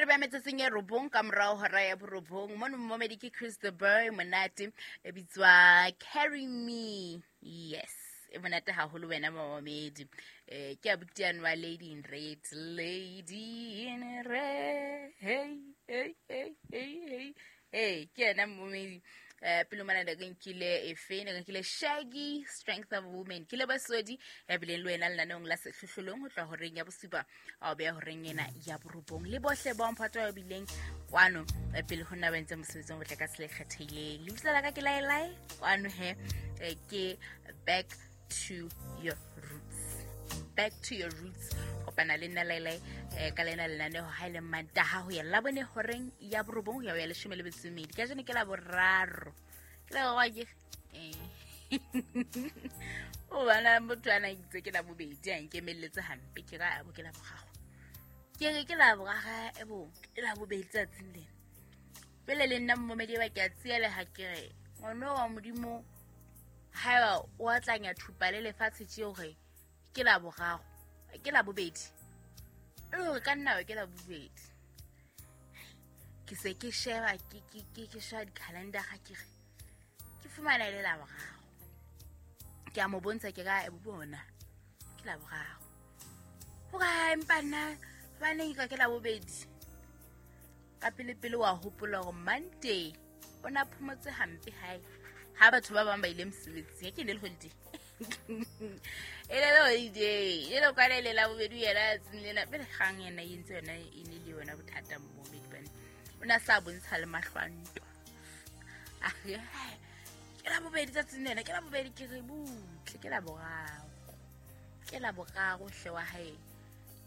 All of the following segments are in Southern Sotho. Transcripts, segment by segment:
Re ba metsotsong e robong ka morao hora ya borobong. Mono momedi ke Chris the Boy, monate e bitswa Carry Me. Yes, e monate haholo wena momedi. Ke abuti ano wa Lady in Red. Lady in Red. Hey, hey, hey, hey, hey. Hey, ke yena momedi. Pele mona ne re nkile efe, ne re nkile Shaggy, Strength of a Woman. Ke le basodi ya bileng le wena lenaneong la sehlohlolong ho tloha horeng ya bosupa a o beya horeng ena ya borobong. Le bohle ba mphato ba bileng kwano pele ho nna ba entse mosebetsi o motle ka tsela e kgethehileng. Lebitso la ka ke Laelae, kwano he, ke Back to Your Roots. Back to Your Roots. Kopana le nna Laelae, ka lena lenaneo ha e le Mantaha ho ya Labone horeng ya borobong ho ya ho ya leshome le metso e mmedi. Kajeno ke la boraro. Ke la boraro ke, O bana motho a na itse ke la bobedi, a nkemelletse hampe, ke ra bo ke la boraro. Ke re ke la boraro, e bo, ke la bobedi tsatsing lena. Pele le nna momedi ba ke a tsieleha, ke re ngwana wa Modimo haeba o atlanya thupa le lefatshe tje hore ke la boraro, ke la bobedi. E le hore ka nna ke la bobedi. Ke se ke sheba, ke sheba di-calendar-a, ke re ke fumana e le la boraro. Ke a mo bontsha, ke ra e bona ke la boraro. Ho ka empa nna hobaneng ka ke la bobedi? Ka pele pele wa hopola hore Monday o na phomotse hampe hae ha batho ba bang ba ile mosebetsing. Ke ne le holiday. E le holiday. E le kwana e le la bobedi yena tsatsing lena. Pele kgang yena e entse yona e ne le yona bothata mmomedi bane. O na sa bontsha le mahlo a ntwa. A re, hai, ke la bobedi tsatsing lena, ke la bobedi, ke re butle, ke la boraro. Ke la boraro hle wa hae.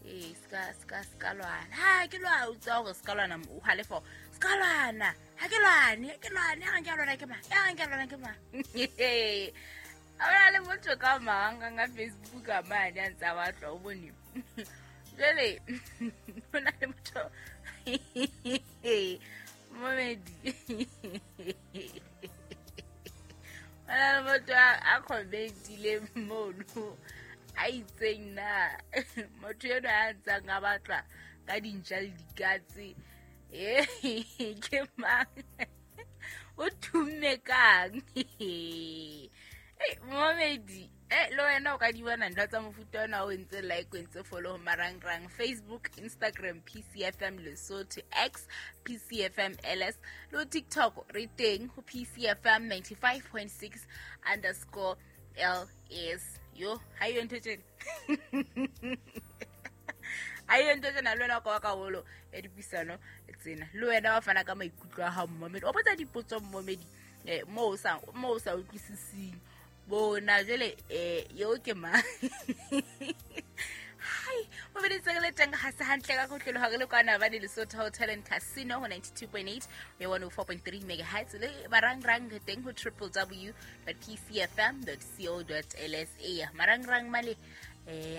Ee, ska lwana. Ha ke lwa, o tswa hore ska lwana, o halefa. Ska lwana. Ha ke lwane, ha ke lwane, ha ke lwana ke mang? Ha ke lwana ke mang? A bona le motho ka mang ka Facebook a mane a ntse a batla, o bone. Jwale, ho na le motho momedi. Ho na le motho a comment-ileng mono, a itseng na motho enwa a ntsang a batla ka dintja le dikatse, ke mang? O thumme kang? Momedi, le wena o ka di bona ntho tsa mofuta ona o entse like, o entse follow ho marangrang, Facebook, Instagram, PCFM Lesotho, X, PCFM LS, le ho TikTok re teng ho PCFM 95.6 underscore LS. Yo, ha yo ntho tjena. Ha yo ntho tjena, le wena o ka ba karolo ya dipuisano tsena. Le wena wa fana ka maikutlo a hao mmomedi. O botsa dipotso mmomedi, moo o sa utlwisising. Bona jwale, eo ke mang? Hai, momedi tse re le teng ha se hantle ka kotlolo ha re le kwana ba ne Lesotho Hotel and Casino ho 92.8 le 104.3 megahertz le marangrang re teng ho triple w dot p c f m dot c o dot l s a. Marangrang male,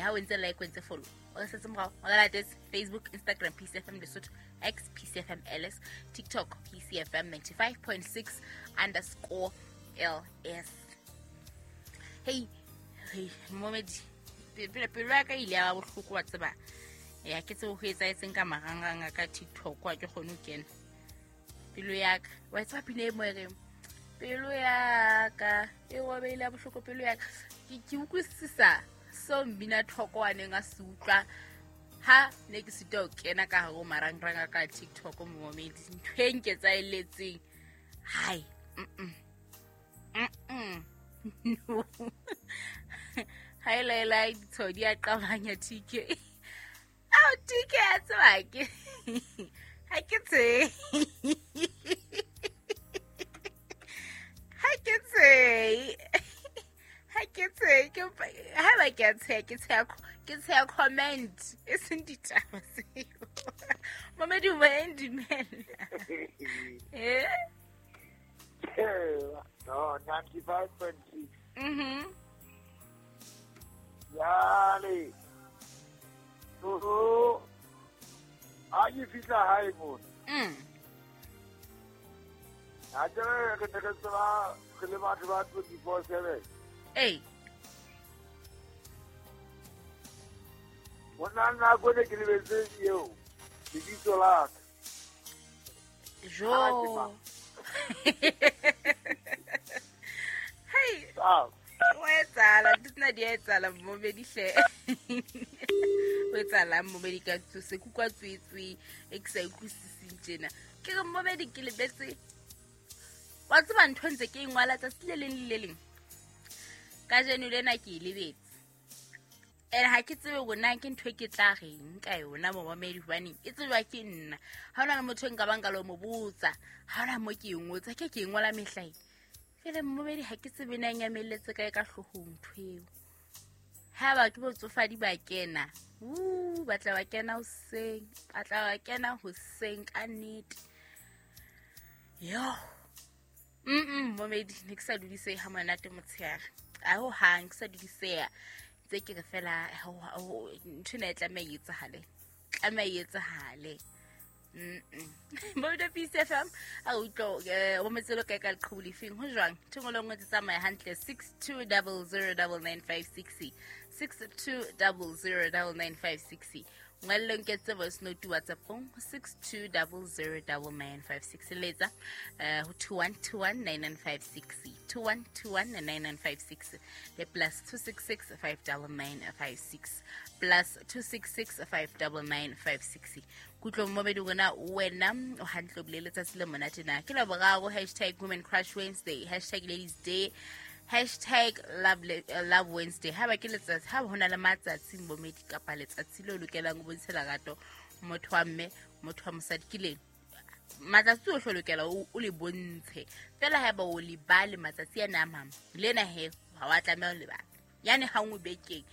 ha o ntse like, o ntse follow, o re setse morao, o re latetse Facebook, Instagram, PCFM Lesotho, X, PCFM LS, TikTok, PCFM 95.6 underscore LS. Hey, hey, momedi, pelo ya ka ile ya ba bohloko wa tseba. Ya ke tsebe ho etsahetseng ka marangrang a ka TikTok, ha ke kgone ho kena. Pelo ya ka, wa tseba pina e mo e reng, pelo ya ka e robehile ya bohloko, pelo ya ka. Ke utlwisisa seo mmina thoko a neng a se utlwa ha ne ke sitwa ho kena ka hare ho marangrang a ka TikTok, momedi. Ntho e nketsaheletseng. Hai, mm-mm. Mm-mm. No. Ha e laela ditshwao di a qabanya TK. Ao, TK a tseba ke. Ha ke tsebe. Ha ke tsebe. Ha ke tsebe. Ke ha ba ke a tsheha, ke tsheha ke tsheha comment, e seng ditaba tseo. Momedi o ba ndumela. No, 95.6. Jale. Oh. Ha ke fihla hae mona. Ha ke re ne re tseba re le batho ba 24/7. Ei. Ho na nako ne ke lebetse eo lebitso la ka. Ya etsahala momedi hle. O etsahalang momedi ka se kutlwa tswetswe e ke sa utlwisiseng tjena. Ke re momedi ke lebetse. Wa tseba ntho ntse ke e ngwala tsatsi le leng le le leng. Kajeno lena ke e lebetse. And ha ke tsebe hore na ke ntho e ke tla reng ka yona momamedi hobane e tsejwa ke nna. Ha hona le motho e nka bang ka lo mo botsa. Ha hona mo ke e ngotse, ke ke e ngola mehlae. Jwale momamedi ha ke tsebe na e nyamelletse kae ka hloohong ntho eo. Ha ba ke botsofadi ba kena, ba tla ba kena hoseng, ba tla ba kena hoseng ka nnete. Yo. Momedi ne ke sa dudisehe ha monate motshehare. A ho hang ke sa dudiseha. Tse ke re fela ntho ena e tlameha e etsahale. Tlameha e etsahale. Momedi Peace FM a utlwa o metselo kae ka leqhubu lefeng ho jwang ntho engwe le nngwe tse tsamaya hantle 62009956 62009956 ngwalelo nketse voice note whatsappong 62009956 letsa ho 21219956 21219956 le plus 266 59956 plus 266 59956 kutlong momedi rona wena o hantle o bile letsatsi le monate na ke laboraro hashtag women crush wednesday hashtag ladies day hashtag love wednesday ha ba ke letsatsi ha ba hona le matsatsi momedi kapa letsatsi le o lokelang o bontshe lerato motho wa mme motho wa mosadi ke leng matsatsi ohle o lokela o le bontshe fela ha ba o lebale matsatsi ana a mang lena he ha wa tlameha ho lebala yane ha nngwe bekeng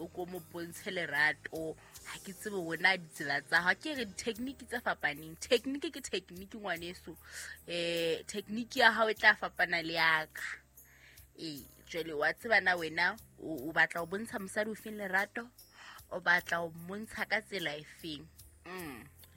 o ko mo bontshe lerato ha ke tsebe wona ditsela tsa hao ke re di-technique tse fapaneng technique ke technique ngwaneso technique ya hao e tla fapana le yaka jwale wa tseba na wena o batla ho bontsha mosadi o feng lerato o batla ho mmontsha ka tsela e feng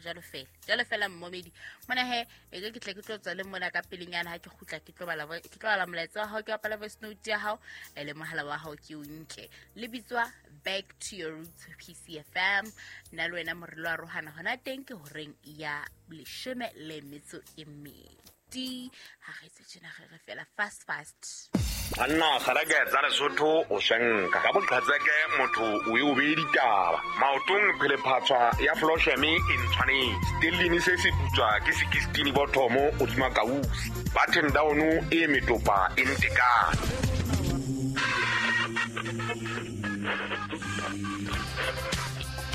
jwalo fela jwalo fela mmomedi mona he e ke tle ke tlo tswa le mona ka pelenyana ha ke kgutla ke tlo bala ke tlo bala molaetsa wa hao ke bapala voice note ya hao le mohala wa hao ke o nke le bitswa back to your roots PCFM nna le wena morelo wa rohana hona teng ke horeng ya 12:20 ha re tse tjena re re fela fast fast Banna kgareke tsa Lesotho o swenka ka boqhatseke motho o e o beye ditaba maotong phelephatswa ya flosheme e ntshwanetse stellini se se putswa ke sekistini bothomo hodima kausi button down e metopa e ntekane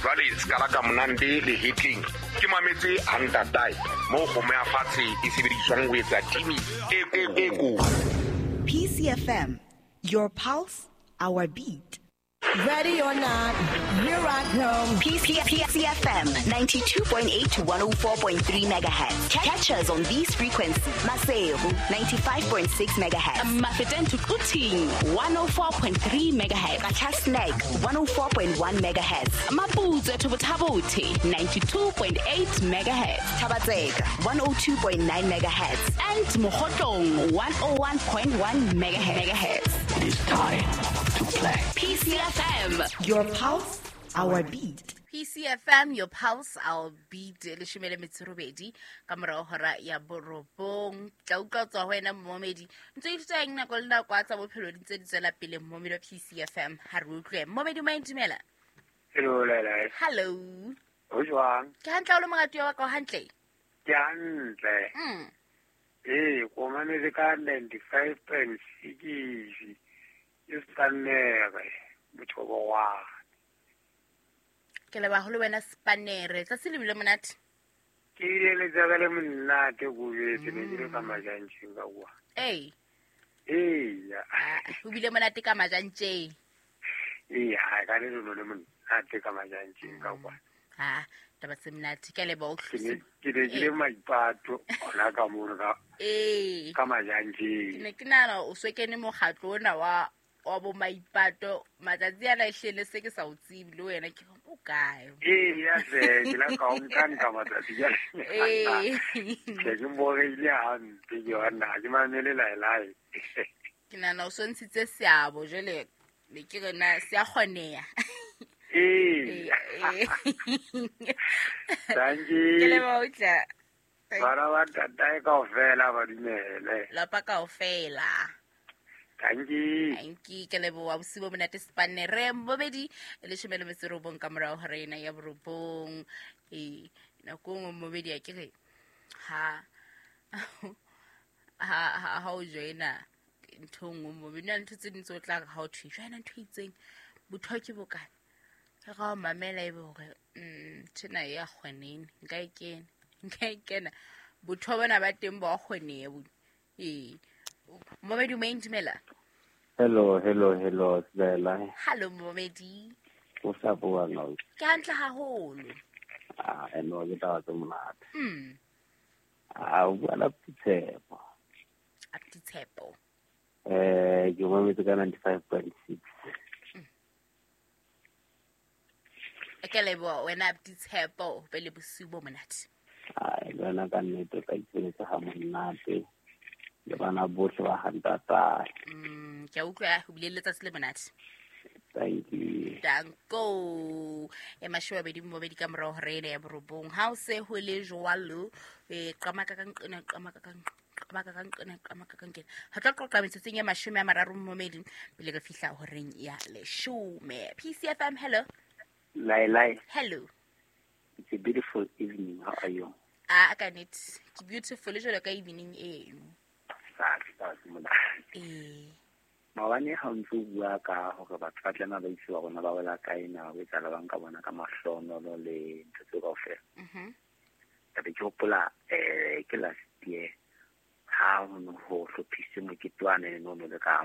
jwale sekala ka monande le hetleng ke mametse hantatae moo kgomo ya fatshe e sebediswang ho etsa timi e ko PCFM, your pulse, our beat. Ready or not, here I come. PCFM 92.8 to 104.3 megahertz. Catch us on these frequencies. Maseru 95.6 megahertz. Mafeteng to Quthing 104.3 megahertz. Qacha's 104.1 megahertz. Maputsoe to Botha-Bothe 92.8 megahertz. Thaba-Tseka 102.9 megahertz. And Mokhotlong 101.1 megahertz. It is time to play. PCFM, your pulse, our beat. PCFM, your pulse, our beat. 18 ka morao hora ya borobong. Tla utlwa tswa ho wena momedi. Ntse ithuta eng nako le nako a tsa bophelo di ntse di tswela pele momedi wa PCFM. Ha re utlwe. Momedi o dumela. Hello, Laila. Hello. Ho jwang? Ke hantle o le moratuwa wa ka o hantle? Ke hantle. Ko mametse ka 95.6. Ke Spanere motho wa. Ke leba ho le wena Spanere. Tsatsi le bile monate. Ke ile letsatsi le monate go betse ne ke le ka majantjeng ka kwa. Ee. Ee. O bile monate ka majantjeng. Ee, ha ka le le monate ka majantjeng ka kwa. Ha, taba tse monate ke leba o tlhosi. Ke ne ke le maipato ona ka mono ka. Ee. Ka majantjeng. Ke ne ke nahana o so kene mokgatlo ona wa bo maipato matsatsi ana e hlele se ke sa o tsebe le wena ke o kae. Ee, ya hle ke la ka o nka matsatsi jwale. Ee. Ke ke boreile hampe ke yona ke mamele laelae. Ke nahana o so ntshitse seabo jwale ne ke re na se a kgoneha. Ee. Thank you. Ke leboha o tla. Bana ba ntatae kaofela ba dumele. Lapa kaofela. Thank you. Anki ke leboha bosiu bo monate Spanne re bobedi 19 ka morao hora ena ya 9. Nako nngwe mobedi a ke re ha ha ha o joina ntho nngwe mobedi na ntho tse ding tse o tla re ha o thwe joina ntho e itseng botho ke bokana re ga o mamela ebe hore tjena ya kgonene nka e kena botho bona ba teng ba kgone bo Momedi o dumela. Hello, Sibela. Hello Momedi. O sa bua no. Ke hantle haholo. Ah, eno ke taba tse monate. Ah, o bua la Tshepo. Tshepo. Ke mametse ka 95.6. Ke leboha wena Tshepo, pele bosiu bo monate. Ah, le wena ka nnete ka itshebetsa ha monate. Le bana bohle ba hantata. Ke utlwa ho bile letsatsi le monate. Thank you. Danko. E 22 ka morao hora ena ya 9. Ha o se ho le jwalo, qamaka ka nqena qamaka ka nqena qamaka ka nqena. Ha tla qoqa metsotsong ya 30 momedi pele re fihla horeng ya 10. PCFM, hello. Lai lai. Hello. It's a beautiful evening. How are you? Ah, ka nnete. Ke beautiful jwalo ka evening eno. Maobane ha o ntse o bua ka hore batho ba tlameha ba itse rona ba wela kae na ho etsahala bang ka bona ka mahlonolo le ntho tseo kaofela. Ka be ke hopola ke last year ha ho ne ho hlophisitswe mokete wane no le ka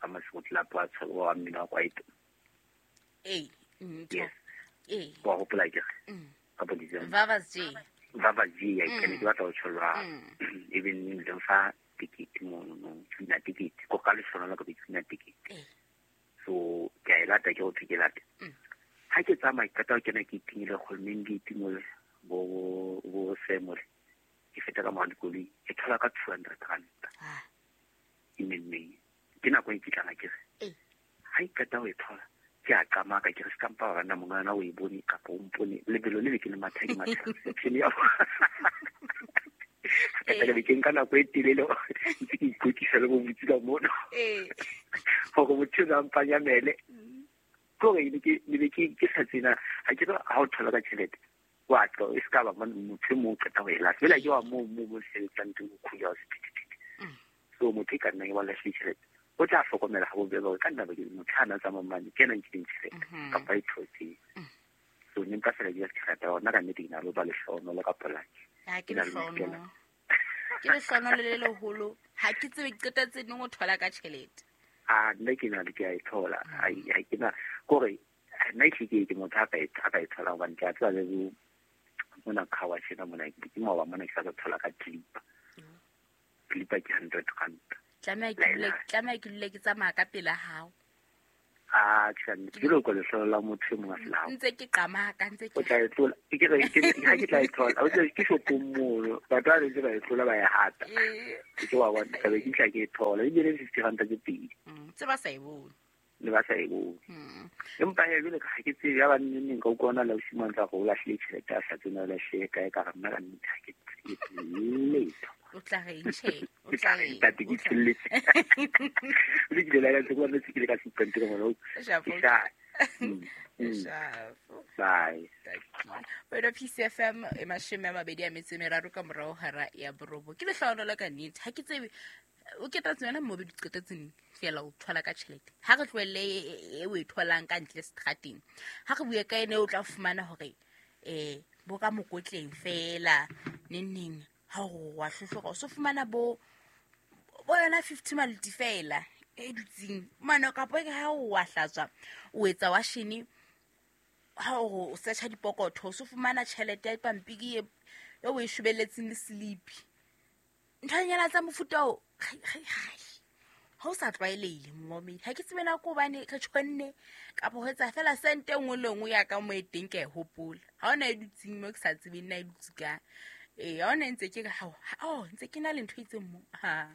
Maseko Club wa wa mmino wa kwaito. Yes. Wa hopola ke re ka bo December. Vavas J. Vavas J ke ne ke batla ho tsholwa even le fa ticket mono tshuna ticket ko ka lehlonolo ka tshuna ticket. So ke a lata ke o ke lata. Ha ke tsamaya ke qeta ho kena ke itingile kgolmeng ke itingole bo semole ke feta ka mora dikoloi ke thola ka 200 rand. E memmeng ke nako e kitlana ke re ha e qeta ho e thola ke a qamaka ke re se kampa ba nna mongana o e bone kapa o mpone lebelo le ke le matha ke matha reception ya ka tla ke nka nako e telele ntse ke ikwetlisa le bo botsi ka mono hore motho a mpanyamele kore ne ke sa tsena ha ke ha o thola ka tjhelete wa tlo e ska ba motho mo qeta ho e lahla fela ke wa mo sebetsang teng ho khuya sephethephethe. So motho e ka nna ke ba lahlile tjhelete o tla hlokomela ha bobebe hore ka nna ba ke motho a na tsamayang mane ke ena nkileng tjhelete kapa e thotseng. So ne nka fela ke rata hona ka nnete ke na le ba lehlohonolo ka polaki. Ha ke lehlohonolo. Ke lehlohonolo le leholo. Ha ke tsebe ke qetetse neng o thola ka tjhelete. Ah, nna ke na le ke a e thola. Ha ke na kore nna ke motho a ka e thola hobane ke a tseba le mona khawa tjena mona ke maoba mona ke sa thola ka clipper. Clipper ke 100 rand. Tlameha ke dule ke tsamaya ka pela hao. Ah, tjhe, ke lo go la motho e mongwe a fela. Ntse ke qamaka ntse ke. O tla e tlola. Ke re ke ha ke tla e thola. O tla ke shopong mono. Batho ba ntse ba e tlola ba e hata. Ke wa bona ka be ke tla ke e thola. E bile 50 rand tse pedi. Tse ba sa e bone. Le ba sa e bone. Empa he jwale ka ke tsebe ya ba nneng ka utlwana le ausi tsa go lahlile tjhelete a sa tsena lahle kae ka re nna ka nnete ha ke tsebe letho. O tla re tjhe, o tla re ntate ke tshelletse. Le ke la ka tswa le se ke le ka se ntse mo Shafo. Bye. Wena PCFM e 23 ka morao hara ya 9. Ke lehlohonolo ka nnete. Ha ke tsebe o ketetse wena mobedi qetetseng fela o thola ka tjhelete. Ha re tlohelle e o e tholang ka ntle strateng. Ha re bue ka ene o tla fumana hore bo ka mokotleng fela neng ha o wa hlohloka o so fumana bo yona 50 malti fela e dutseng mane kapa ke ha o wa hlatswa o etsa washini ha o searcha dipokotho o so fumana tjhelete ya pampiri e o e shobelletseng le sleepy nthanyana tsa mofuta o ha o sa tlwaelehile momedi ha ke tsebe na ko bane re tshwanne kapa ho etsa fela sente nngwe le nngwe ya ka mo e teng ke e hopola ha ona e dutseng mo ke sa tsebeng na e dutse ka ha ona ntse ke ha o ntse ke na le ntho e itseng mo ha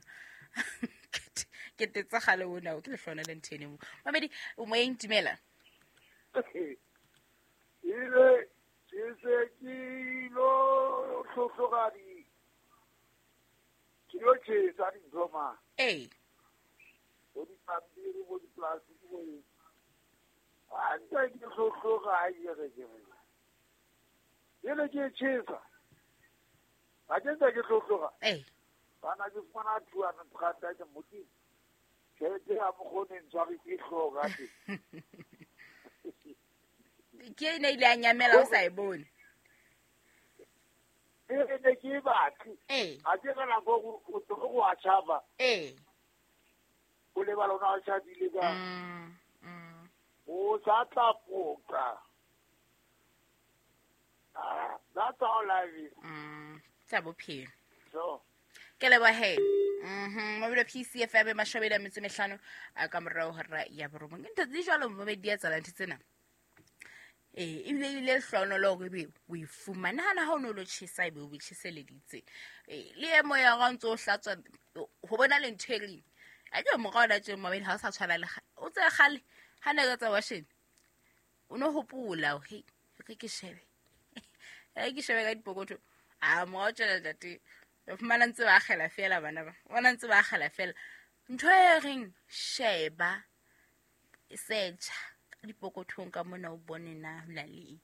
ke tetsa gale ona o ke lehlona le ntho ene mo mamedi o moyeng dumela ile ke se ke lo hlohlogadi ke lo tjhesa dintho ma Bo dipampiri bo di-plastic bo eng. A ntse ke hlohloga a ke re ke re. Jele ke e tjhesa. Ha ke ntse ke hlohloga. Ee. Bana ke fumana 200 rand ke modimo. Tjhelete ya mokgone ntshware ke hlooho ka teng. Ke e ne ile ya nyamela o sa e bone. E ne ke e batle. Ee. Ha ke ka nako o tlo go a tjhaba. Ee. O lebala ona o tjhabile ka. O sa tla poka. Ah, that's how life is. Tsa bophelo. So. Ke leboha he. Mabelo PCFM 25 a ka morao hora ya borobong. Ke ntho tse jwalo momedi ya tsala ntho tsena. Ee, ebile ebile lehlohonolo hore ebe o e fumane. Nahana ha o no lo tjhesa ebe o bo tjheseleditse. Ee, le e moya wa ntso o hlatswa ho bona le ntho e reng. A ke morao na tje momedi ha o sa tshwana le o tse kgale ha ne re tsa washene. O no hopola hore re ke shebe. Re ke shebe ka dipokotho. A morao tjena ntate. O fumana ntse ba akgela fela bana ba. Bona ntse ba akgela fela. Ntho e reng sheba search dipokothong ka mona o bone na ho na le eng.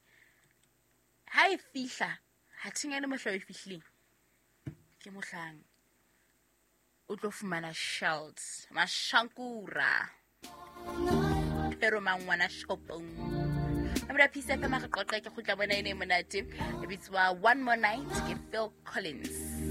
Ha e fihla, ha thingane mohla o e fihlileng. Ke mohlang o tlo fumana shells, mashankura. Pero mangwana shopong. Mabelo PCFM re qoqe ke kgutla bona ene monate. E bitswa One More Night ke Phil Collins.